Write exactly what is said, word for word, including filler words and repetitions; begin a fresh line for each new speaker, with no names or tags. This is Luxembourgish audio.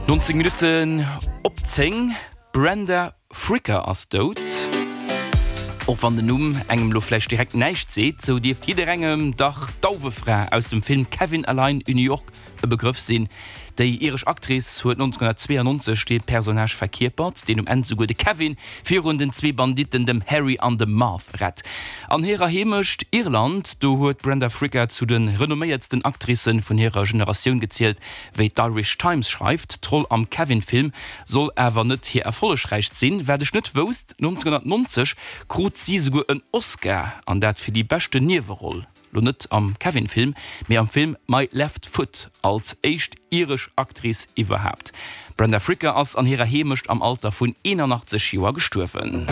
Nonzéng Minutten op zéng, D'Brenda Fricker ass dout. Och wann den Numm engem lo vläicht direkt näischt seet, sou dierft jidderengem dach d'Dauwefra aus dem Film Kevin allein in New York e Begrëff sinn. Déi iresch Actrice huet nonzénghunnertzweeanonzeg dee Personnage verkierpert, deen um Enn souguer de Kevin virun den zwee Banditten, dem Harry an dem Marv, rett. An hirer Heemecht Irland, do huet d'Brenda Fricker zu de renomméiertsten Actricë vun hirer Generatioun gezielt, wéi d'Irish Times schreift. D'Roll am Kevin-Film soll awer net hir erfollegräichst sinn. Wat ech net wousst, nonzénghunnertnonzeg krut si souguer en Oscar, an dat fir déi beschten Nieweroll. Lo net am Kevin-Film, mee am Film My Left Foot als éischt iresch Actrice iwwerhaapt. D'Brenda Fricker ass an hirer Heemecht am Alter vun eenanachtzeg Joer gestuerwen.